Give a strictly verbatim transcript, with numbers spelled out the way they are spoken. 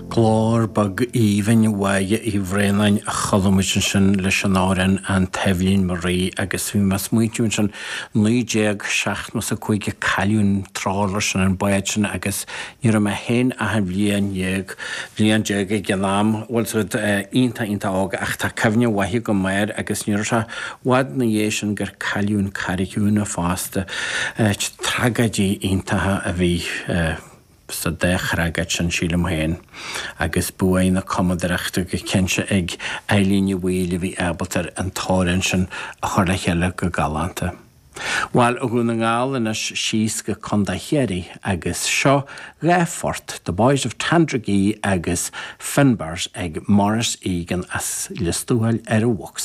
Glór beag aoibhinn Mháire Uí Bhraonáin a chuala muid ansin leis an amhrán An Taibhlín Mo Rí agus bhí mé ag smaointiú ansin naoi déag seachtó is a cúig a cailleadh an trawler sin an bád sin agus ní raibh mé féin ach aon bhliain dhéag bhliain déag ag an am bhfuil siad iontach iontach óg ach tá cuimhne mhaith agam air agus ní raibh sé i bhfad ina dhiaidh sin gur cailleadh an Carraig Úna fosta tragóidí iontacha a bhí sa dá thragóid sin sílim féin agus bua na cumadóireachta go cinnte ag Eileen Ní Bhaoill a bhí ábalta an t-amhrán sin a chur le chéile go galánta. Bhuel ó Dhún na nGall anois síos go Contae Chiarraí agus seo dhá phort The Boys of Tandragee agus Finbars ag Maurice Egan as Lios Tuathail ar an bhfox.